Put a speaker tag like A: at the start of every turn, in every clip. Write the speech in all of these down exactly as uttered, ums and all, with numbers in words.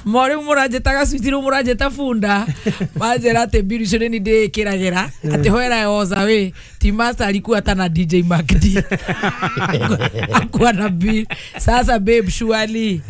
A: More mũranjĩtaga switi rĩu mũranjĩta bunda. Manjĩra atĩ mbiru icio nĩ ndĩĩkĩragĩra. Atĩ where I was away, ti master alikuwa hata na D J Mark D. Akuwa na bill. Sasa babe surely.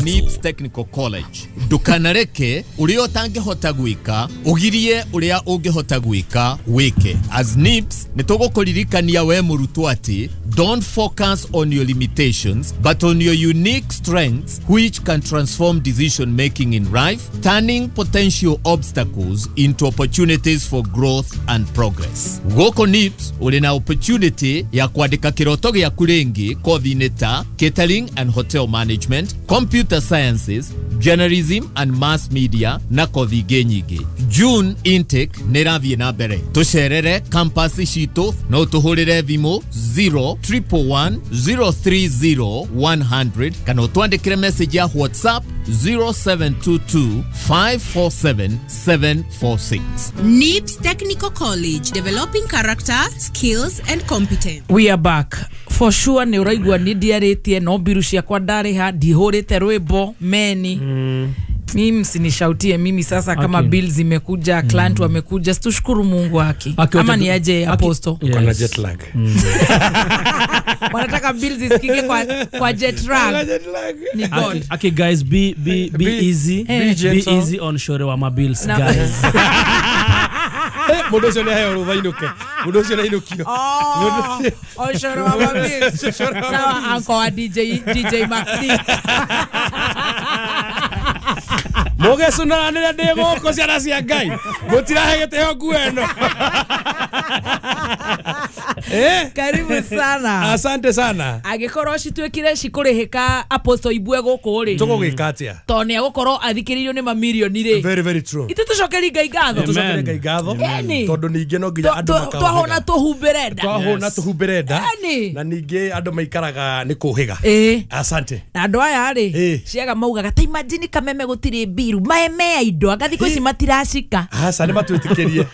B: Nips Technical College. Ndukanareke uria utangihota gwika ugirie uria ungihota gwika wike. As Nips nitugukuririkania we murutwo ati don't focus on your limitations but on your unique strengths which can transform decision making in life, turning potential obstacles into opportunities for growth and progress. Goko Nips uri na opportunity ya kwandika kiroto giaku ringi kothi-inĩ ta catering and hotel management, computer sciences, journalism and mass media na kothi ingĩ nyingĩ. June intake nĩ ĩrathiĩ na mbere. Tũcerere campus citũ no tũhũrĩre thimũ zero triple one zero three zero one hundred kana ũtwandĩkĩre message ya WhatsApp zero seven two two five four seven seven four six.
C: Nips Technical College, developing character, skills and competence.
A: We are back. For sure nĩ ũraigua nĩ ndiarĩtie no mbiru ciakwa ndarĩha ndihũrĩte rwĩmbo meni. Mm. Mimi msinishautie mimi sasa kama okay. Bills zimekuja, client mm. wamekuja, tushukuru Mungu haki. Ama ni aje apostle?
D: Yes. Kuna jet lag. Mm.
A: Wanataka bills zisikike kwa kwa jet lag.
D: Jet lag.
A: Ni God.
E: Okay, okay guys, be be be, be easy.
A: Eh.
E: Be, be easy on shore wa ma bills no. Guys.
D: Mundu ucio ni aheo rutha inuke. Mundu ucio ni inukio.
A: Oh, oshoro wa ma bills. Sawa uncle wa D J D J Maxi.
D: Mugecunaranĩra ndĩ gũkũ ciana cia Ngai mũtirahe gĩtĩo nguo ĩno. Eh,
A: karibu sana.
D: Asante sana.
A: Angĩkorwo cituĩkire cikũrĩhĩka Apostle Ibue gũkũ rĩ,
D: tũgũgĩka atĩa?
A: Tondũ nĩ egũkorwo athikĩrĩirio nĩ mamirioni rĩ.
D: Very very true.
A: Ithuĩ tũcokerie Ngai ngatho.
D: Tũcokerie Ngai ngatho tondũ ningĩ no nginya andũ makaũhĩga.
A: Twahũna tũhumbĩre nda.
D: Twahũna tũhumbĩre nda. Na ningĩ andũ maikaraga nĩ kũhĩga. Asante.
A: Na andũ aya rĩ, ciaga maugaga ta imagine kameme gũtirĩ mbiru maeme indo anga thikũ ici matiracika.
D: Aca nĩ matwĩtĩkĩrie.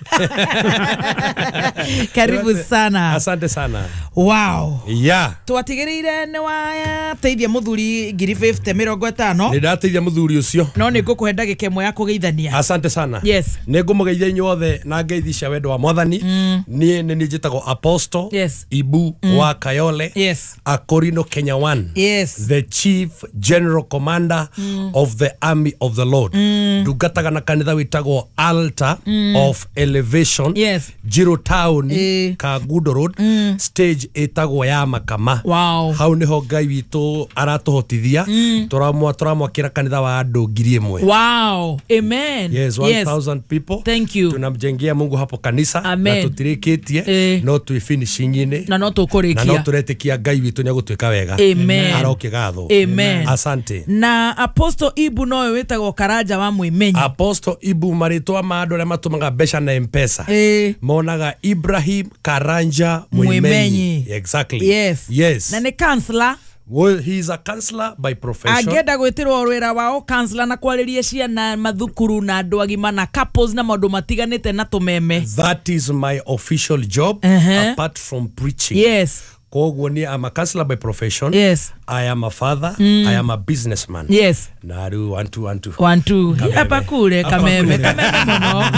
A: Karibu sana.
D: Asante sana.
A: Wow.
D: Yeah.
A: Twatigĩrĩire nĩ wateithia mũthuri ngiri fifty mĩrongo ĩtano.
D: Nĩ ndateithia mũthuri ũcio.
A: No nĩ ngũkũhe ndagĩka ĩmwe ya kũgeithania.
D: Asante sana.
A: Yes.
D: Nĩ ngũmũgeithia inyuothe na ngeithi cia wendo wa Mwathani. Mm. Niĩ nĩ niĩ njĩtagwo Apostle
A: yes.
D: Ibu mm. wa Kayole.
A: Yes.
D: Akorino Kenya One.
A: Yes.
D: The Chief General Commander mm. of the Army of the Lord.
A: Mm.
D: Ndungataga na kanitha wĩtagwo Altar
A: mm.
D: of Elevation.
A: Yes.
D: Jiro Town
A: e.
D: Kangundo Road.
A: Mm.
D: Stage ĩtagwo ya Makama.
A: Wow.
D: Hau niho Ngai witũ aratũhotithia.
A: Mm.
D: Tũramwa tũramwakĩra kanitha wa andũ ngiri ĩmwe.
A: Wow. Amen.
D: Yes, one thousand yes. people.
A: Thank you.
D: Tunamjengea Mungu hapo kanisa.
A: Amen.
D: Na tũtirĩkĩtie
A: e.
D: no twĩ finishing-inĩ.
A: Na no tũkũrĩkia.
D: Na no tũretĩkia Ngai witũ nĩegũtwĩka wega.
A: Amen.
D: Arokĩgathwo.
A: Amen.
D: Asante.
A: Na Apostle Ibu nowe wĩtagwo Karanja wa Mwĩmenyi.
D: Apostle Ibu marĩtwa ma andũ arĩa matũmaga mbeca na M-Pesa.
A: E.
D: Monaga Ibrahim Karanja Mwĩmenyi. Exactly.
A: Yes.
D: Yes.
A: Na nĩ counselor.
D: Well, he is a counselor by profession.
A: Angĩenda gwĩtĩrwo wĩra wao counselor na kwarĩria ciana mathukuru na andũ agima na couples na maũndũ matiganĩte na tũmeme.
D: That is my official job
A: uh-huh.
D: apart from preaching.
A: Yes.
D: Koguo ni I'm a counselor by profession.
A: Yes.
D: I am a father.
A: Mm.
D: I am a businessman.
A: Yes.
D: Na rĩu one two one two.
A: One two. Hapa kule kameme kameme mũno.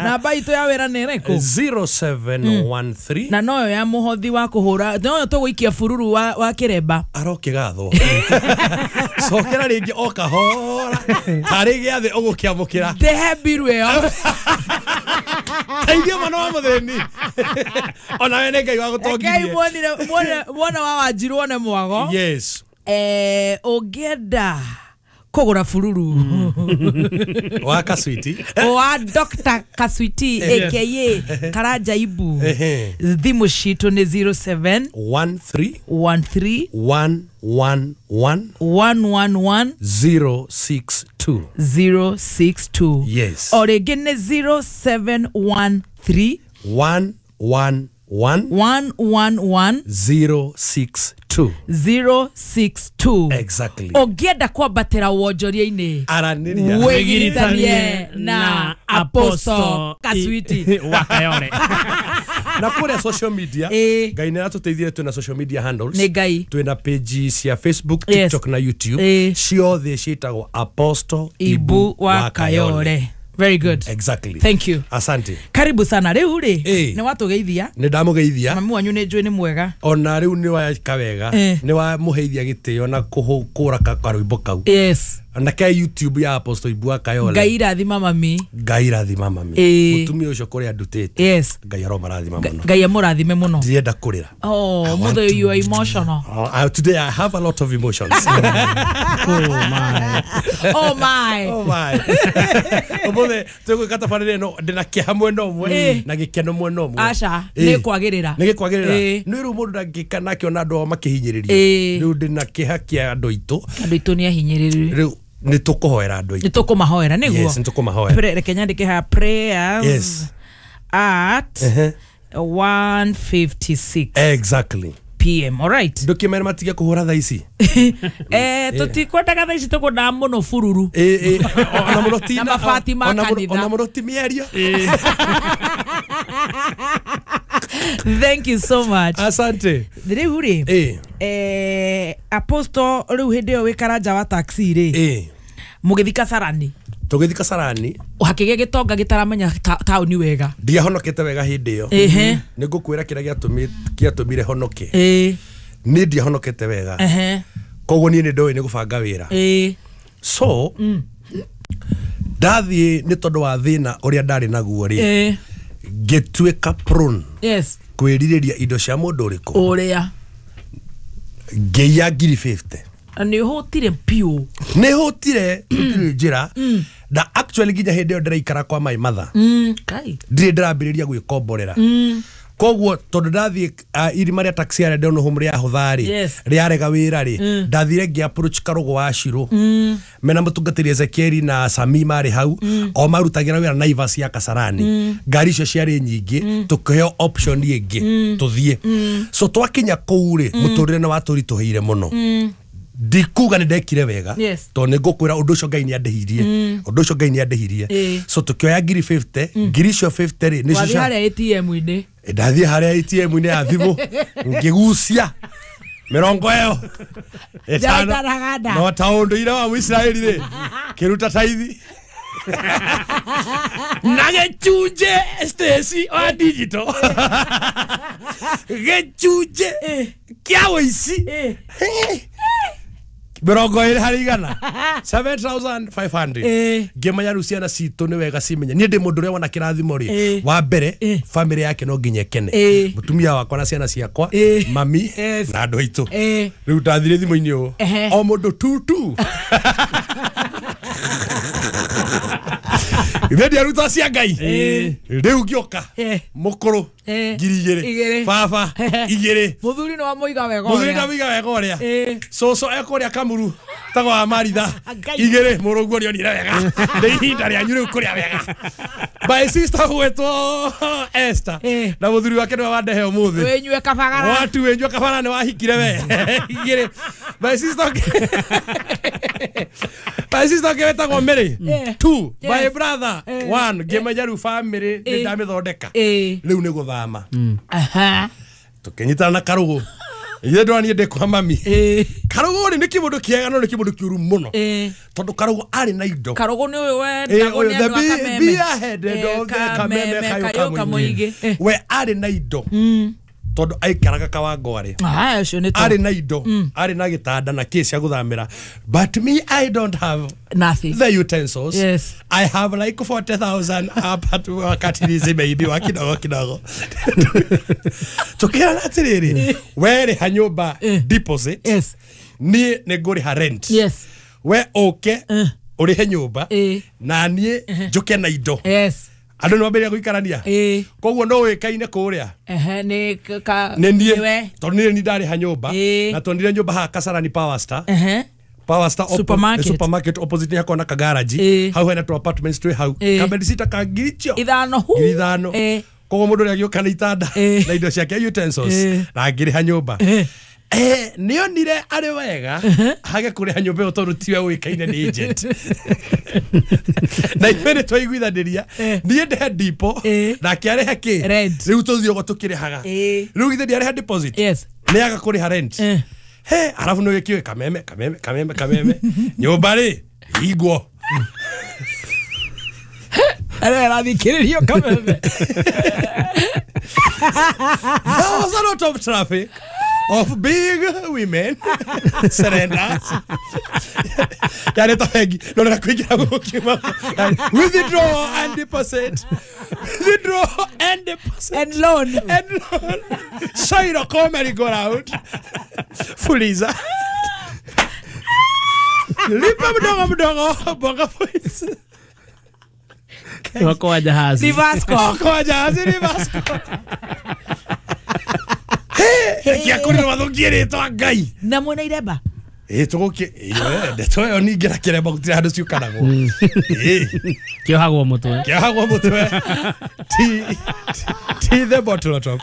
A: Namba itũ ya wĩra nĩ ĩrĩkũ?
D: zero seven one three.
A: Na noyo ya mũhothi wa kũhũra. Noyo tũgũikia bururu wa wa kĩremba.
D: Arokĩgathwo. Cokera rĩngĩ o kahora. Tarĩ gĩathĩ ũgũkĩamũkĩra.
A: Ndehe mbiru ĩyo.
D: Teithia mwana wa mũthĩni. Ona we nĩ Ngai wa gũtongirie.
A: Ngai muonire muona wa Wanjiru one mwago.
D: Yes.
A: Eh, ũngĩenda kũgũra bururu
D: wa Kaswiti
A: wa Doctor Kaswiti aka Karanja Ibu, thimũ citũ nĩ zero seven
D: one three
A: one three
D: one one one
A: one one one
D: zero six two
A: zero six two.
D: Yes.
A: O rĩngĩ nĩ zero seven one three
D: one one one
A: one one one
D: zero six Two.
A: zero six two.
D: Exactly.
A: Ũngĩenda kwambatĩra wonjoria-inĩ
D: Aranĩria.
A: wĩgiritanie na Apostle Kaswiti
E: wa Kayole.
D: Na kũrĩa social media
A: Ĩĩ.
D: Ngai nĩ aratũteithia twĩna social media handles.
A: Nĩ Ngai.
D: Twĩna page cia Facebook,
A: Yes.
D: TikTok na YouTube.
A: Ĩĩ.
D: Ciothe ciĩtagwo Apostle
A: Ibu wa Kayole. Very good.
D: Exactly.
A: Thank you.
D: Asante.
A: Karibu sana. Rĩu rĩ
D: Ĩĩ.
A: nĩ watũgeithia.
D: Nĩ ndamũgeithia.
A: Mami wanyu nĩ njũĩ nĩ mwega.
D: Ona rĩu nĩ weka wega.
A: Eh.
D: Nĩ wamũheithia gĩtĩo na kũhũra karwĩmbo kau.
A: Yes.
D: Na ke YouTube ya Apostle Ibu wa Kayole.
A: Ngai irathima mami.
D: Ngai rathima mami.
A: Ĩĩ.
D: Mũtumia ũcio kũrĩa ndutĩte.
A: Yes.
D: Ngai aromarathima mũno.
A: Ngai amũrathime mũno.
D: Ndirenda kũrĩra.
A: Oh,
D: I want
A: mother,
D: to-
A: you are emotional.
D: Oh, I, today I have a lot of emotions.
E: Oh my.
A: Oh my.
D: Oh my. Ũmũthĩ tũgwĩka tabarĩra ĩno ndĩna kĩeha mwena ũmwe
A: Ĩĩ.
D: na gĩkeno mwena ũmwe.
A: Aca,
D: Ĩĩ.
A: nĩ kwagĩrĩra.
D: Nĩ gĩkwagĩrĩra.
A: Ĩĩ.
D: Nĩ rĩu mũndũ ndangĩka na akĩona andũ ao makĩhinyĩrĩrio.
A: Ĩĩ.
D: Rĩu ndĩna kĩeha kĩa andũ aitũ.
A: Andũ aitũ nĩ ahinyĩrĩru.
D: Rĩu nĩ tũkũhoera andũ aitũ.
A: Nĩ tũkũmahoera nĩguo.
D: Yes, nĩ tũkũmahoera.
A: Pre- Reke nyandĩke haha prayers
D: Yes.
A: at
D: Ehe.
A: one fifty-six
D: Exactly.
A: P M. All right.
D: Ndũkĩmere matige kũhũra thaa ici.
A: Eh, tũtikwendaga thaa ici tũkwendaga mũno bururu.
D: Ĩĩ, ĩĩ, ona mũno ti
A: Na mabati ma
D: ona mũno-
A: kanitha.
D: ona mũno ti mĩario.
A: Thank you so much.
D: Asante.
A: Rĩu rĩ
D: Ĩĩ.
A: eh, Apostle rĩu hĩndĩ ĩyo wĩ karanja wa taxi rĩ
D: Ĩĩ.
A: mũgĩthi Kasarani
D: Tũgĩthiĩ Kasarani
A: hakĩgĩa gĩtonga gĩtaramenya ta- taũni wega.
D: ndiahonokete wega hĩndĩ ĩyo.
A: Ĩhĩ.
D: Nĩ ngũkwĩra kĩrĩa gĩatũmi- gĩatũmire honoke.
A: Ĩĩ.
D: Niĩ ndiahonokete wega.
A: Ehe.
D: Koguo niĩ nĩ ndoĩ nĩ gũbanga wĩra.
A: Ĩĩ.
D: So ndathiĩ nĩ tondũ wa thĩna ũrĩa ndarĩ naguo rĩ
A: Ĩĩ.
D: ngĩtuĩka prone
A: Yes.
D: kwĩrirĩria indo cia mũndũ ũrĩkũ.
A: Ũrĩa.
D: Ngĩiya ngiri fifty.
A: Na nĩ ũhũtire piũ.
D: Nĩ hũtire gũtirĩ njĩra na actually nginya hĩndĩ ĩyo ndĩraikara kwa my mother.
A: Mm. Kai.
D: Ndirĩ ndĩrambĩrĩria gwĩkomborera. Koguo tondũ ndathiĩ uh, irima rĩa taxi arĩa ndĩona home rĩahũtha rĩ
A: Yes.
D: rĩarega wĩra rĩ ndathire ngĩ approach Karũgũ wa Shirũ mena mũtungatĩri Ezekieli na Sami marĩ hau o marutagĩra wĩra Naivas ya Kasarani. Ngari icio ciarĩ nyingĩ tũkĩheo option ĩngĩ tũthiĩ. So twakinya kũu rĩ mũtũrĩre nĩ watũritũhĩire mũno. Ndikuga nĩ ndekire wega
A: Yes.
D: tondũ nĩ ngũkwĩra ũndũ ũcio Ngai nĩ andĩhirie. Ũndũ ũcio Ngai nĩ andĩhirie.
A: Ĩĩ.
D: So tũkĩoya ngiri fifty ngiri icio fifty rĩ nĩcio
A: Wathiĩ
D: cia-
A: harĩa A T M-inĩ.
D: ndathiĩ harĩa A T M-inĩ ya thimũ ngĩgucia mĩrongo ĩyo ĩtano
A: Ndĩraikaraga nda.
D: no ta ũndũire wa Mũisiraeli rĩ kĩruta taithi na gĩcunjĩ Stacy wa digital gĩcunjĩ kĩa ũici
A: Ĩĩ.
D: mĩrongo ĩrĩ harĩ igana seven thousand five hundred.
A: Ĩĩ.
D: Ngĩmenya rĩu ciana citũ nĩ wega cimenye niĩ ndĩ mũndũ ũrĩa wona kĩrathimo rĩ
A: Ĩĩ.
D: wa mbere
A: Ĩĩ.
D: bamĩrĩ yake no nginya ĩkene.
A: Ĩĩ.
D: Mũtumia wakwa na ciana ciakwa
A: Ĩĩ.
D: mami
A: Yes.
D: na andũ aitũ.
A: Ĩĩ.
D: Rĩu ndathire thimũ-inĩ ũũ
A: Ehe.
D: o mũndũ tutu ithe ndiaruta cia Ngai. Rĩu ngĩũka
A: Ĩĩ.
D: mũkũrũ
A: Ĩĩ.
D: ngiri igĩrĩ
A: Igĩrĩ.
D: baba igĩrĩ
A: Mũthuri nĩ wamũiga wega
D: mũthuri
A: ũrĩa.
D: ndamũiga wega ũrĩa.
A: Ĩĩ.
D: Cũcũ ekũrĩa Kamuru tagwo wa Maritha
A: Ngai.
D: igĩrĩ mũrũguo nĩonire wega nĩ ihinda rĩanyu rĩu kũrĩa wega. My sister gwĩtwo Esther
A: Ĩĩ.
D: na mũthuri wake nĩwe wandehe ũmũthĩ.
A: Wĩnyue kabagara.
D: Watu wĩnyue kabara nĩ wahikire we igĩrĩ. My sister ũngĩ- My sister ũngĩ wĩtagwo Mary
A: Ĩĩ.
D: two. My
A: Yes.
D: brother
A: Ĩĩ.
D: one. Ngĩmenya rĩu family nĩ
A: Ĩĩ.
D: ndamĩthondeka.
A: Ĩĩ.
D: Rĩu nĩ gũthama.
A: Aha.
D: Tũkĩnyitana na Karũgũ. Ithe ndona niĩ ndĩ kwa mami.
A: Ĩĩ.
D: Karũgũ rĩ nĩ kĩmũndũ kĩega no nĩ kĩmũndũ kĩũru mũno.
A: Ĩĩ.
D: Tondũ Karũgũ arĩ na indo.
A: Karũgũ nĩ ũyũ
D: Ĩĩ,
A: wendagwo
D: ũyũ,
A: nĩ
D: the
A: andũ a
D: bee-
A: Kameme.
D: beer headed
A: Ĩĩ,
D: of the Kameme
A: Kameme
D: Kayũ
A: Kayũ
D: Kamũingĩ.
A: Kamũingĩ. Ĩĩ.
D: We arĩ na indo. Tondũ aikaraga Kawangware.
A: Ah, ũcio nĩ
D: Arĩ na indo. Arĩ na gĩtanda na kĩ cia gũthamĩra. But me I don't have
A: Nothing.
D: the utensils.
A: Yes.
D: I have like forty thousand hapa tu wakati zimeibiwa kidogo kidogo. Tukirana atĩrĩrĩ, we rĩha nyũmba deposit.
A: Yes.
D: Niĩ nĩ ngũrĩha rent.
A: Yes.
D: We ũke ũrĩhe nyũmba
A: Ĩĩ.
D: na niĩ njũke na indo.
A: Yes.
D: Andũ nĩ mambĩrĩria gũikarania.
A: Ĩĩ.
D: Koguo no ũĩkaine kũrĩa.
A: Ehe, nĩ k- ka
D: Nĩ niĩ
A: nĩwe.
D: tondũ niĩ nĩ ndarĩha nyũmba
A: Ĩĩ.
D: na twonire nyũmba haha Kasarani Power Star.
A: Ehe.
D: Power Star oppo-
A: Supermarket.
D: supermarket opposite nĩ hakoragwo na kagaraji
A: Ĩĩ.
D: hau hena tu apartments twĩ hau
A: Ĩĩ.
D: kabedisita ka ngiri icio
A: Ithano hu.
D: ngiri ithano
A: Ĩĩ.
D: koguo mũndũ ũrĩa agĩũka na itanda
A: Ĩĩ.
D: na indo ciake utensils
A: Ĩĩ.
D: na ngĩrĩha nyũmba
A: Ĩĩ.
D: Eh, nĩonire arĩ wega hage kũrĩha nyũmba ĩyo tondũ tiwe ũĩkaine nĩ agent. Na ithuĩ nĩ twaiguithanĩria niĩ ndehe dipo nake arĩhe kĩ rĩu tũthiĩ ũguo tũkĩrĩhaga rĩu githĩ ndiarĩha deposit nĩ aga kũrĩha rent. He arabu nĩ wĩkĩũĩ kameme kameme kameme kameme nyũmba rĩ hingwo.
A: Arĩa arathikĩrĩrio kameme.
D: There was a lot of traffic of big women surrender. Yale to bengi no na kuingira gukiuma withdraw and deposit, withdraw and deposit
A: and loan
D: and loan. Shairo come go round fuliza lipa mdogo mdogo bonga points
E: wako jahazi
A: Rivasco
D: kwa jahazi Rivasco. Kĩa wathukie rĩtwa Ngai
A: na mwena iremba
D: ĩ tũgũkĩ ndeto ĩyo ningĩ na kĩremba gũtirĩ handũ ciũkanagwo. Ĩ
E: kĩohagwo mũtwe
D: kĩohagwo mũtwe ti ti the bottle top.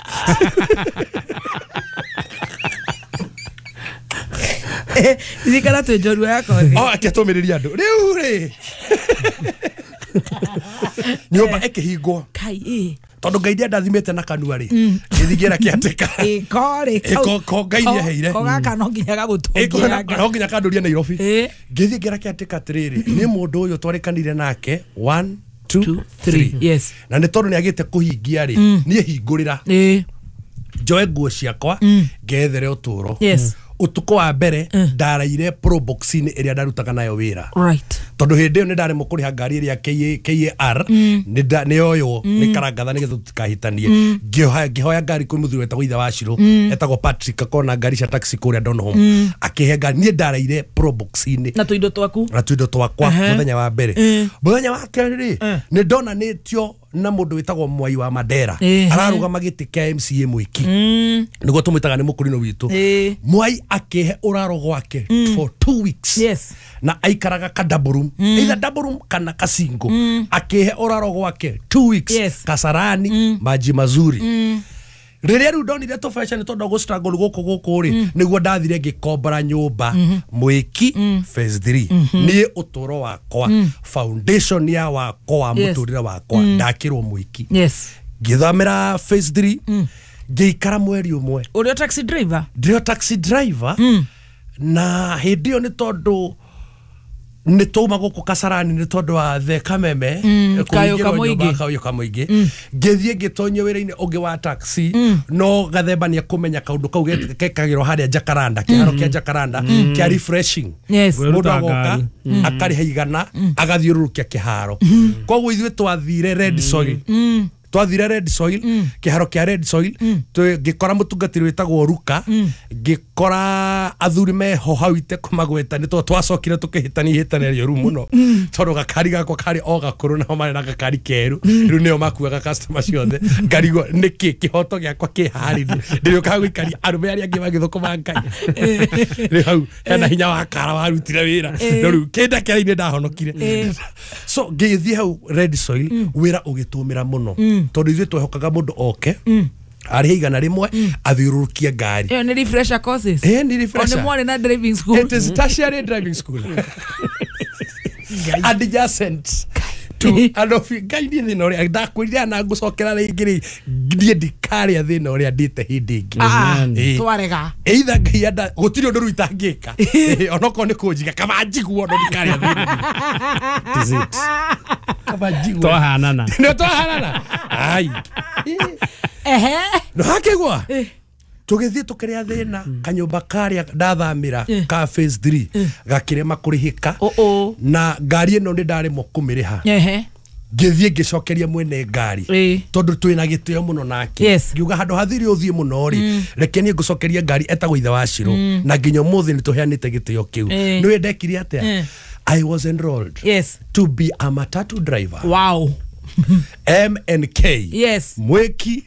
A: Ithikara twĩ njorua yakwa
D: o akĩtũmĩrĩria andũ rĩu rĩ nyũmba ĩkĩhingwo
A: kai ĩ
D: tondu Ngai ndiandathimĩte na kanua rĩ ngĩthiĩ kĩatĩka
A: ĩko rĩ
D: ĩko ko Ngai nĩaheire
A: ko gaka no nginya gagũtũngia
D: no nginya kanduria Nairobi ngĩthiĩ ngĩra kĩatĩka atĩrĩrĩ nĩ mũndũ ũyũ twarĩkanire nake one two three
A: yes
D: na nĩ tondũ nĩagĩte kũhingia rĩ niĩ hingũrĩra njoe nguo ciakwa ngethere ũtũũro. Ũtukũ wa mbere ndaraire probox-inĩ ĩrĩa ndarutaga nayo wĩra
A: right
D: tondu hindi ĩyo nĩ ndaremwo kũrĩha ngari ĩrĩa K A R nĩ yoywo nĩ karangatha nĩgetha tũtikahĩtanie ngĩhoya ngari kwĩ mũthuri wetagwo ithe wa Shiro etagwo Patrick akona ngari cia taxi kũrĩa Donholm akĩhe ngari niĩ ndaraire probox-inĩ
A: na tũindo twaku
D: na tũindo twakwa mũthenya wa mbere. Mũthenya wa kerĩ rĩ nĩ ndonanĩtio na mũndũ wĩtagwo Mwai wa Mandera ararũgama gĩtĩ kĩa M C A Mwiki nĩguo tũmwĩtaga nĩ mũkũrinũ witũ. Mwai akĩhe ũraro gwake for two weeks
A: yes
D: na aikaraga ka double room either double room kana kasingo akĩhe ũraro gwake two weeks
A: yes.
D: Kasarani maji mazuri. Rĩrĩa rĩu ndonire tũbeca nĩ tondũ gũ struggle gũkũ gũkũ rĩ nĩguo ndathire ngĩkombora nyũmba Mwiki phase three niĩ ũtũũro wakwa foundation ya wakwa wa mũtũrĩre wakwa ndakĩrwo Mwiki
A: yes
D: ngĩthamĩra phase three ngĩikara mweri ũmwe.
A: Ũrĩ o taxi driver?
D: Ndĩ o taxi driver na hĩndĩ ĩyo nĩ tondũ nĩ twauma gũkũ Kasarani nĩ tondũ wa the kameme kayũ kamũingĩ ngĩthiĩ ngĩtonyio wĩra-inĩ ũngĩ wa taxi no gathemba nĩ ekũmenya kaũndũ kau gekagĩrwo harĩa Jacaranda kĩharo kĩa Jacaranda kĩa refreshing mũndũ agoka akarĩha igana agathiũrũrũkia kĩharo koguo ithuĩ twathire red soil twathire red soil kĩharo kĩa red soil ngĩkora mũtungatĩri wĩtagwo Ruka ngĩkora athuri meho hau itekũmagweta nĩ tondũ twacokire tũkĩhĩtania ihĩtania rĩũru mũno tondũ gakari gakwa karĩ o gakũrũ nao marĩ na gakari kerũ rĩu nĩo makuaga customer ciothe ngarigwo nĩkĩ kĩhoto gĩakwa kĩ harĩ ndĩrĩũkaga gũikaria arũme arĩa angĩ magĩthũkũma Ngai rĩu hau hena hinya wa kara warutire wĩra no rĩu kĩndakĩra-inĩ ndahonokire so ngĩthiĩ hau red soil wĩra ũgĩtũmĩra mũno tondu ithuĩ twehokaga mũndũ oke arĩhe igana rĩmwe athiũrũrũkie ngari.
A: Ĩyo nĩ refresher courses?
D: Ĩĩ nĩ refresher.
A: O nĩ mwarĩ na driving school?
D: It is tertiary driving school. Adjacent to and of Ngai niĩ thĩna ũrĩa ndakwĩrire na ngũcokera rĩngĩ rĩ niĩ ndikarĩa thĩna ũrĩa ndĩte hĩndĩ ĩngĩ.
A: Twarega.
D: Either Ngai enda gũtirĩ ũndũ rĩu itangĩka onokorwo nĩ kũnjiga kaba njiguo no ndikarĩa thĩna. It is it. Kaba njiguo.
E: Twahanana.
D: Nĩ twahanana. Ai.
A: Ehe.
D: No hakĩgwa. Tũgĩthiĩ tũkĩrĩa thĩna kanyũmba karĩa ndathamĩra ka phase three gakĩrema kũrĩhĩka na ngari ĩno nĩ ndaremwo kũmĩrĩha ngĩthiĩ ngĩcokeria mwene ngari tondũ twĩna gĩtĩo mũno nake ngiuga handũ hathiri ũthiĩ mũno rĩ reke niĩ ngũcokerie ngari etagwo ithe wa Shiro na nginya ũmũthĩ nĩ tũheanĩte gĩtĩo kĩu nĩwe ndekire atĩa I was enrolled
A: yes
D: to be a matatu driver.
A: Wow.
D: M N K
A: yes
D: Mweki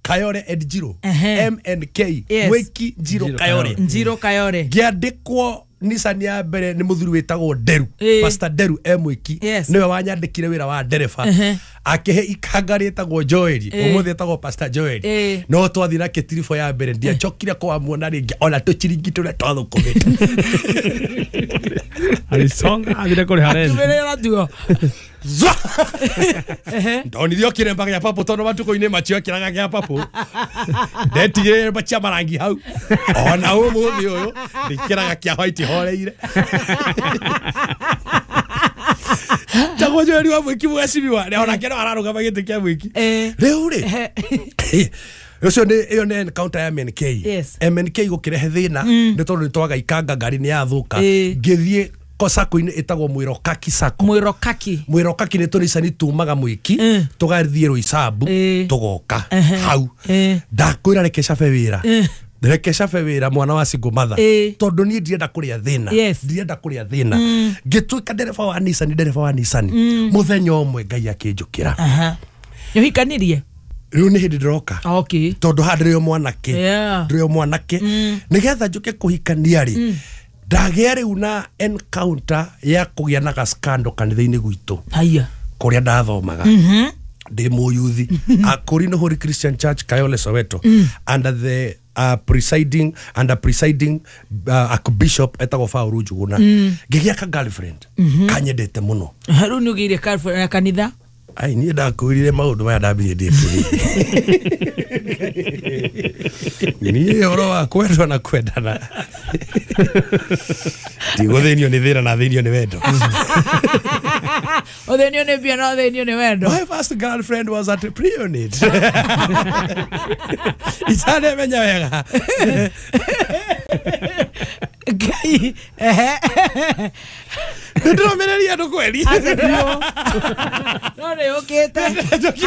D: Kayore and Njiro.
A: Uh-huh.
D: M N K
A: yes.
D: Mweki Njiro Kayore
A: Njiro Kayore
D: ngĩandĩkwo Nissan ya mbere nĩ mũthuri wĩtagwo Nderu
A: Eh.
D: Pastor Nderu e Mwĩki
A: Yes.
D: nĩwe wanyandĩkire wĩra wa ndereba
A: Ehe.
D: akĩhe ikanga rĩtagwo Joel
A: Eh.
D: ũmũthĩ etagwo Pastor Joel
A: Eh.
D: no twathiĩ na kĩtiribũ ya mbere ndiacokire kũamuona rĩngĩ ona tũciringi tũrĩa twathũkũmĩte
E: Alisonga athire kũrĩha rent.
A: Tumerera tuo.
D: Zwa! Ndonire o kĩremba gĩa papũ tondũ matukũ-inĩ macio ekĩraga gĩa papũ ndetigĩrĩre cia marangi hau ona ũmũthĩ ũyũ ndĩkĩraga kĩa white horeire tagwo Joel wa Mwĩki mwecimiwa onake no ararũgama gĩtĩ kĩa Mwĩki
A: Eh.
D: rĩu rĩ ũcio nĩ ĩyo nĩ encounter ya M N K.
A: Yes.
D: M N K gũkĩrehe thĩna nĩ tondũ nĩ twaga ikanga ngari nĩ yathũka
A: Eh.
D: ngĩthiĩ sako-inĩ ĩtagwo Mwĩrokaki Sacco
A: Mwĩrokaki.
D: Mwĩrokaki nĩ tũnicani tumaga Mwĩki
A: Eh.
D: tũgathiĩ Rũicambu
A: Eh.
D: tũgoka
A: Ehe.
D: hau
A: Eh.
D: ndakwĩra reke cabe wĩra
A: Eh.
D: reke cabe wĩra mwana wa single mother
A: Eh.
D: tondũ niĩ ndirenda kũrĩa thĩna
A: Yes.
D: ndirenda kũrĩa thĩna ngĩtuĩka ndereba wa Nissan ndereba wa Nissan mũthenya ũmwe Ngai akĩnjũkĩra
A: Aha. Nĩũhikanirie?
D: rĩu nĩ hĩndĩ ndĩroka
A: Okay.
D: tondũ haha ndĩrĩ o mwanake
A: Yeah.
D: ndĩrĩ o mwanake nĩgetha njũke kũhikania rĩ ndagĩa rĩu na encounter ya kũgĩa na gaskando kanitha-inĩ gwitũ
A: Haya.
D: kũrĩa ndathomaga ndĩ mũyuthi Akorino Holy Christian Church Kayole Soweto under the uh, presiding under presiding uh, archbishop etagwo Paul Njuguna ngĩgĩa ka girlfriend kanyendete mũno
A: Rĩu nĩ ũgĩire girlfriend ya kanitha?
D: ai niĩ ndakwĩrire maũndũ maya ndambirie ndĩ mũnini niĩ ũhoro wa kwendwo na kwendana ndigũthĩnio nĩ thĩna na thĩnio nĩ wendo
A: Ũthĩnio nĩ mbia na ũthĩnio nĩ wendo.
D: My first girlfriend was at pre-unit. Itanemenya wega.
A: Ngai. Ehe.
D: Nĩndĩromereria andũ kweri.
A: No nĩ ũkĩte.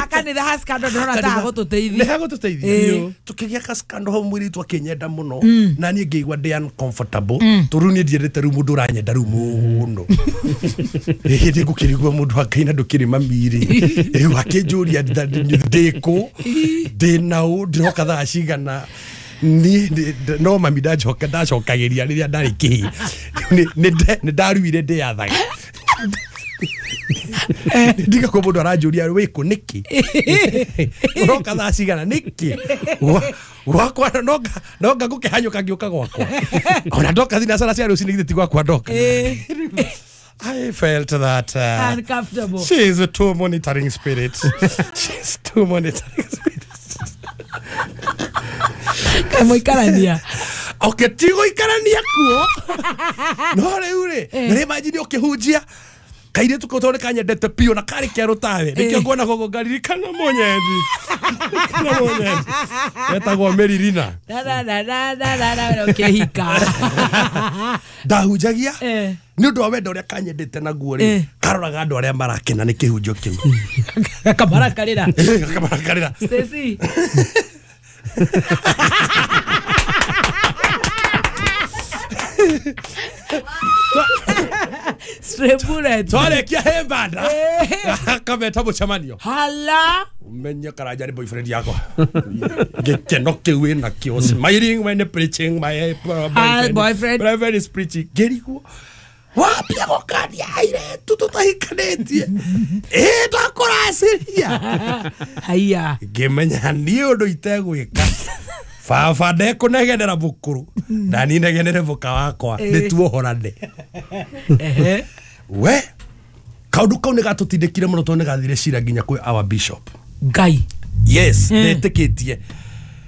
A: Akanitha haskando ndĩrona ta agũtũteithia.
D: Nĩ hagũtũteithia.
A: Ĩĩ.
D: Tũkĩgĩa kaskando hau mũirĩtu akĩnyenda mũno na niĩ ngĩigua ndĩ uncomfortable tondũ rĩu niĩ ndiendete rĩu mũndũ ũranyenda rĩu mũno. Hĩndĩ ngũkĩrigwo mũndũ wa Ngai na ndũkĩrĩ mami-rĩ. Rĩu akĩnjũria ndĩ kũ, ndĩ naũ, ndĩroka thaa cigana. Ni no mami ndacoka ndacokagĩria rĩrĩa ndarĩ kĩhĩ nĩ ndaruire ndĩyathaga ndiga kwa mũndũ aranjũria wĩkũ nĩkĩ ũroka thaa cigana nĩkĩ gwakwa nonga ngũkĩhanyũka ngĩũka gwakwa ona ndoka thinacara cia rũcinĩ githĩ ti gwakwa ndoka. I felt that uh,
A: Uncomfortable.
D: She is a too monitoring spirit. She's too monitoring spirit.
A: Kamũikarania.
D: Okay, ti gũikarania kuo. No rĩu rĩ, nĩ imagine ũkĩhunjia kairĩtu kau tondũ kanyendete biũ na karĩ kerũ tawe nĩkĩo nguona gũkũ ngaririkana mũnyendi. Kana mũnyendi. Etagwo Meririna.
A: Da da da da da da da ũkĩhika.
D: Ndahunjagia
A: Eh.
D: nĩ ũndũ wa wendo ũrĩa kanyendete naguo rĩ
A: Eh.
D: karoraga andũ arĩa marakena nĩ kĩhunjio kĩu
A: Kamarakarĩra.
D: Kamarakarĩra.
A: Stacy. Straight bullet.
D: Twarekia hembanda akameta mũcemanio
A: Hala.
D: menye Karanja nĩ boyfriend yakwa gĩkeno kĩu wĩnakĩo smiling when preaching my
A: Ah, boyfriend.
D: boyfriend is preaching ngĩrigwo wambia gũkania airĩtu tũtahikanĩtie ĩ ndakũracĩria
A: Haya.
D: ngĩmenya niĩ ũndũ itegwĩka baba ndekũnegenera mũkũrũ na niĩ negenere mũka wakwa nĩ tuohorane
A: Ehe.
D: we kaũndũ kau nĩ gatũtindĩkire mũno tondũ nĩ gathire cira nginya kwĩ our bishop.
A: Ngai.
D: Yes, ndetĩkĩtie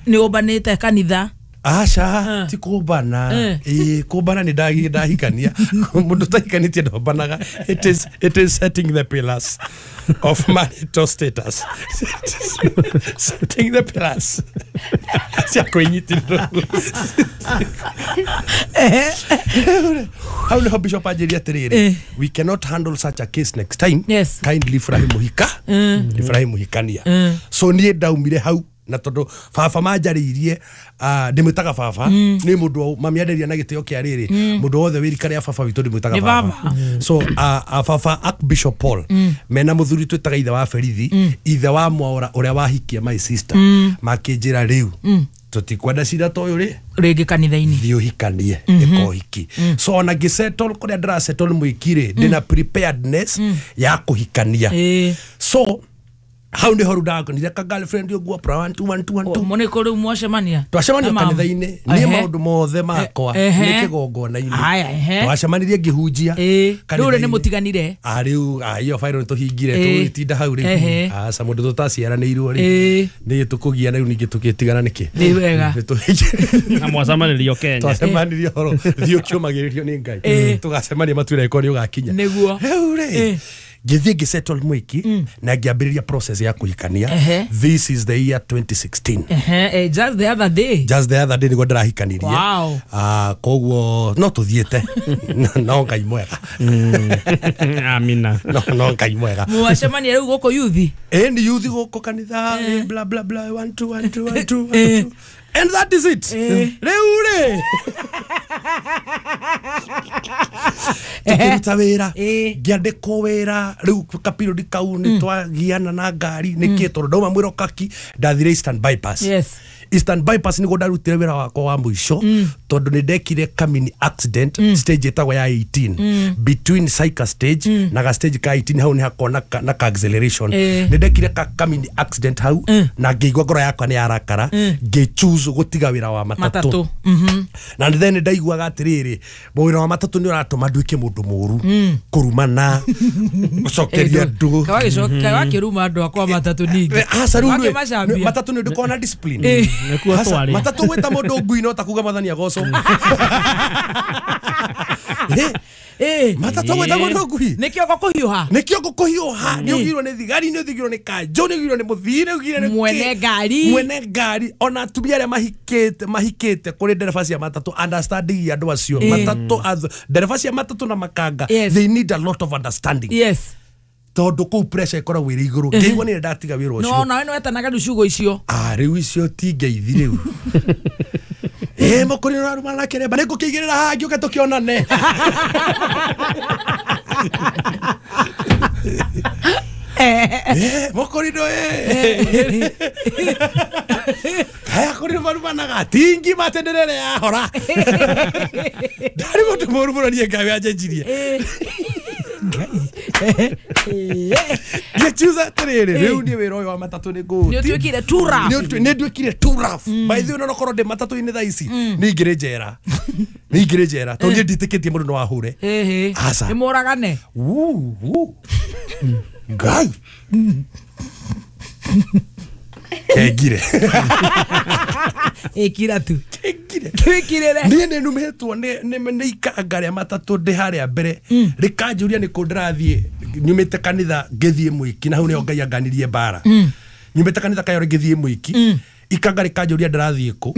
A: Nĩ ũmbanĩte kanitha.
D: aca ti kũmbana
A: Eh.
D: ĩĩ kũmbana nĩ ndagi- ndahikania mũndũ ũtahikanĩtie ndombanaga. It is, it is setting the pillars of marital status. It is setting the pillars cia kwĩnyitĩrĩra hau nĩho bishop anjĩria atĩrĩrĩ
A: Eh.
D: we cannot handle such a case next time.
A: Yes.
D: Kindly Ibrahim Muhika Ibrahim Muhikania. So niĩ ndaumire hau na tondu baba manjarĩirie uh, ndĩmwĩtaga baba nĩ mũndũ mami anderia na gĩtĩo kĩa rĩrĩ mũndũ wothe wĩ rika rĩa baba witũ ndĩmwĩtaga
A: Nĩ
D: baba
A: baba.
D: so uh, uh, baba Archbishop Paul mena mũthuri twĩtaga ithe wa Berithi ithe wa Mwaura ũrĩa wahikia my sister makĩnjĩra rĩu Tutikwenda cira ta ũyũ rĩ
A: rĩngĩ kanitha-inĩ.
D: Thiĩ ũhikanie ĩka ũhiki. So ona ngĩsettle kũrĩa ndĩrasettle mwĩki rĩ, ndĩna preparedness ya kũhikania.
A: Ĩĩ.
D: So hau nĩho rĩu ndakonire ka girlfriend ũguo pra one two one two one two.
A: Mũnĩ kũ rĩu mwacemania?
D: Twacemania
A: Na mama.
D: kanitha-inĩ. Niĩ
A: Ehe.
D: maũndũ mothe makwa
A: Ehe.
D: nĩ kĩgongona-inĩ.
A: Haya, ehe.
D: Twacemanirie ngĩhunjia
A: Ĩĩ. Rĩu rĩ nĩ
D: kanitha-inĩ.
A: mũtiganire?
D: Ah, rĩu ah, iyo final nĩ tũhingire.
A: Ĩĩ.
D: Tũgĩtinda hau rĩu.
A: Ehe.
D: Aca mũndũ tũtaciaranĩirwo rĩ,
A: Ĩĩ.
D: nĩ tũkũgiana rĩu ningĩ tũgĩtigana nĩkĩ?
A: Nĩ wega.
D: Nĩ tũhingire.
E: Na mwacemanĩrio Kenya.
D: Twacemanirie horo thiĩ ũkĩũmagĩrĩrio nĩ Ngai.
A: Ĩĩ.
D: Tũgacemania matuĩra ĩkorwo nĩ ũgakinya.
A: Nĩguo.
D: Rĩu rĩ,
A: Ĩĩ.
D: ngĩthiĩ ngĩsettle mwĩki na ngĩambĩrĩria process ya kũhikania.
A: Ehe.
D: This is the year twenty sixteen.
A: Ehe, eh, just the other day.
D: Just the other day nĩguo ndĩrahikanirie.
A: Wow.
D: Ah, koguo no tũthiĩte no Ngai mwega.
E: Amina.
D: No no Ngai mwega.
A: Mwacemania rĩu gũkũ yuthi?
D: Ĩĩ, nĩ yuthi gũkũ kanitha, bla bla bla, one two one two one two one two, and that is it. Rĩu rĩ, tukĩruta wĩra,
A: Ĩĩ.
D: ngĩandĩkwo wĩra rĩu kapiriodi kau nĩ twagiana na ngari nĩkĩ tondũ ndauma mwĩrokaki ndathire Eastern Bypass.
A: Yes.
D: Eastern Bypass nĩguo ndarutire wĩra wakwa wa mũico tondũ nĩ ndekire kamini accident stage ĩtagwo ya eighteen, between Saika stage na ga stage ka eighteen. Hau nĩ hakoragwo na ka- na ka acceleration.
A: Ĩĩ.
D: Nĩ ndekire ka kamini accident hau na ngĩigua ngoro yakwa nĩ yarakara, ngĩ choose gũtiga wĩra wa matatũ.
A: Matatũ. Mhm.
D: Na then ndaiguaga atĩrĩrĩ, wĩra wa matatũ nĩ ũratũma nduĩke mũndũ mũru, kũrumana, gũcokeria andũ.
A: Wakĩruma andũ akwa matatũ ningĩ?
D: Aca rĩu nĩ-
A: Wakĩmacambia?
D: matatũ nĩ ndũkoragwo na discipline.
A: Ĩĩ.
E: Nĩkuo
D: Aca,
E: twarĩ.
D: matatũ gwĩta mũndũ ngui no ta kuga Mwathani agocwo. Eh,
A: Ĩĩ.
D: matatũ gwĩta mũndũ ngui
A: Nĩ kĩongo kũhiũha.
D: Nĩ kĩongo kũhiũha. Nĩ ũgirwo nĩ thigari, nĩ ũthigirwo nĩ kanjũ, nĩ ũgirwo nĩ mũthii, nĩ ũgirwo nĩ
A: Mwene
D: kĩ.
A: ngari.
D: Mwene ngari, ona atumia arĩa mahikĩte mahikĩte kũrĩ ndereba cia matatũ, understanding ya andũ acio matatũ ath- ndereba cia matatũ na makanga,
A: Yes.
D: they need a lot of understanding
A: Yes.
D: tondũ kũu pressure ĩkoragwo ĩrĩ igũrũ. Ngĩigua nĩ ndatiga wĩra
A: No
D: ũcio.
A: nawe nĩ wetanaga rĩu ciugo icio.
D: Ah, rĩu icio ti ngeithi rĩu. Ĩ mũkũri ũrarumana na kĩremba nĩ ngũkĩigĩrĩra haha ngĩũke tũkĩonane. Eh, mũkũrinũ ĩ kaya kũrinũ marumanaga ti ngima atĩ ndĩrere yahora. Ndarĩ mũndũ mũru mũno niĩ Ngai anjenjirie. Ngĩchuza atĩrĩrĩ, rĩu niĩ wĩra ũyũ wa matatũ nĩ ngũũti.
A: Nĩ ũtuĩkire too rough.
D: Nĩ ũtu- nĩ nduĩkire too rough. By the way, ona korwo ndĩ matatũ-inĩ thaa ici nĩ ingĩrĩ njera, nĩ ingĩrĩ njera tondũ niĩ nditĩkĩtie mũndũ no ahũre.
A: Ĩhĩ.
D: Aca.
A: Nĩ mũragane.
D: Wuu, wuu. Ngai kengire.
A: Ĩkira tu.
D: Kengire.
A: Twĩkirĩre.
D: Niĩ nĩ numĩtwo nĩ nĩ nĩ ikanga rĩa matatũ ndĩ harĩa mbere rĩkanjũria nĩ kũ ndĩrathiĩ. Nyumĩte kanitha ngĩthiĩ mwĩki, na hau nĩho Ngai anganirie mbara. Nyumĩte kanitha Kayore ngĩthiĩ mwĩki, ikanga rĩkanjũria ndĩrathiĩ kũ,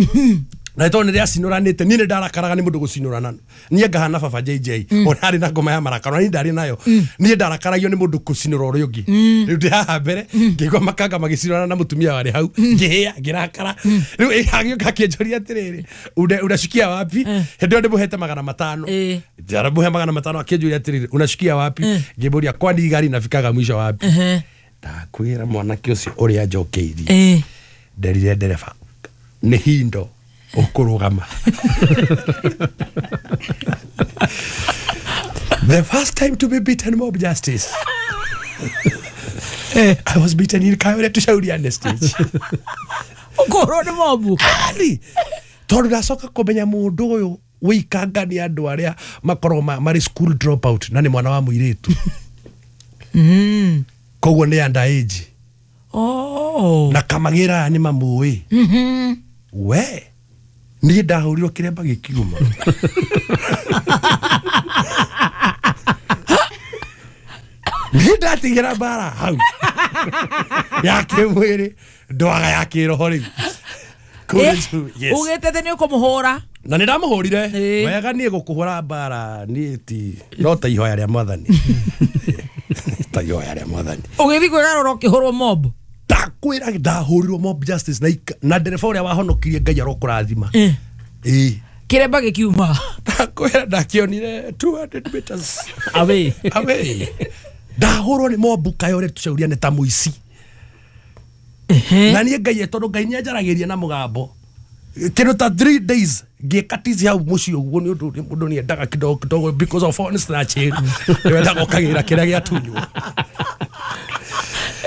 D: na tondũ nĩ rĩacinũranĩte niĩ nĩ ndarakaraga nĩ mũndũ gũcinũrana. Niĩ ngahana baba J J ona arĩ na ngoma ya marakara, na niĩ ndarĩ nayo. Niĩ ndarakaragia nĩ mũndũ gũcinũra ũrĩa ũngĩ. Rĩu ndĩ haha mbere ngĩigua makanga magĩcinũrana na mũtumia warĩ hau, ngĩhĩa, ngĩrakara. Rĩu ĩ, agĩũka akĩnjũria atĩrĩrĩ, "Una- unashukia wapi?" Hĩndĩ ĩyo ndĩmũhete magana matano.
A: Ĩĩ.
D: Ndĩramũhe magana matano, akĩnjũria atĩrĩrĩ, "Unashukia wapi?" Ngĩmũria, "Kwani gari inafikaga mwisho wapi?"
A: Ehe.
D: Ndakwĩra mwanake ũcio ũrĩa njokeirie,
A: Ĩĩ.
D: nderire ndereba nĩ hindo ũkũrũgama. The first time to be beaten mob justice, I was beaten in Kayore Tushauriane stage.
A: Ũkũhũrwo nĩ mobu.
D: Ani tondũ ndacoka kũmenya mũndũ ũyũ wĩikanga nĩ andũ arĩa makoragwo ma- marĩ school dropout na nĩ mwana wa mũirĩtu, koguo nĩ under age.
A: Oh.
D: Na kamagĩra aya nĩ mamũĩ we. Niĩ ndahũrirwo kĩremba gĩkiuma. Niĩ ndatigĩra mbara hau ya kĩmwĩrĩ, ndwaga ya kĩroho rĩu. Kũu
A: Eh,
D: nĩ- yes.
A: Ugĩte atĩ nĩ ũkũmũhũra.
D: Na nĩ ndamũhũrire.
A: Ĩĩ.
D: Wega niĩ gũkũhũra mbara niĩ ti no ta ihoya rĩa Mwathani, ta ihoya rĩa Mwathani.
A: Ũgĩthiĩ kwĩgarũra ũkĩhũrwo mob.
D: Ndakwĩra ndahũrirwo mob justice na ika- na ndereba ũrĩa wahonokirie, Ngai arokũrathima.
A: Eh.
D: Ĩĩ.
A: Kĩremba gĩkiuma.
D: Ndakwĩra ndakĩonire two hundred meters
E: Away.
D: away. Ndahũrwo nĩ mobu Kayore Tũcauriane ta mũici. Na niĩ Ngai, tondũ Ngai nĩ anjaragĩria na mũgambo. Kindu ta three days ngĩka tizi hau mũciĩ ũguo nĩ ũndũ mũndũ nĩendaga kidogo kidogo because of phone snatching, nĩwendaga ũkagĩra kĩrĩa gĩatunywo.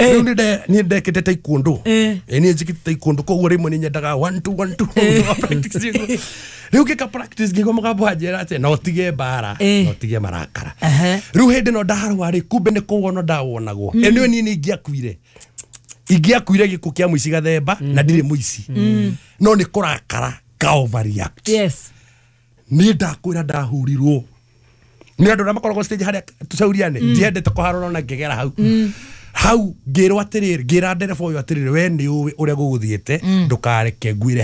D: Rĩu nĩ niĩ ndekĩte taekwondo.
A: Eh.
D: Ĩ niĩ njĩkĩte taekwondo, koguo rĩmwe nĩ nyendaga one two one two practice. Rĩu ngĩka practice ngĩigua mũgambo wanjĩra atĩ no ũtige mbara,
A: Eh.
D: no ũtige marakara.
A: Ehe.
D: Rĩu hĩndĩ ĩno ndarwara rĩ, kumbe nĩ kũwonwo ndawonagwo. Ĩ niĩ niĩ ingĩakuire ingĩakuire gĩkuũ kĩa mũici gathemba na ndirĩ mũici, no nĩ kũrakara ka overreact.
A: Yes.
D: Niĩ ndakwĩra ndahurirwo nĩ andũ arĩa makoragwo stage harĩa tũcauriane, ndiendete kũharũra na ngĩgera hau hau ngĩrwo atĩrĩrĩ, ngĩra ndereba ũyũ atĩrĩrĩ, we nĩ ũĩ ũrĩa gũgũthiĩte, ndũkareke nguire.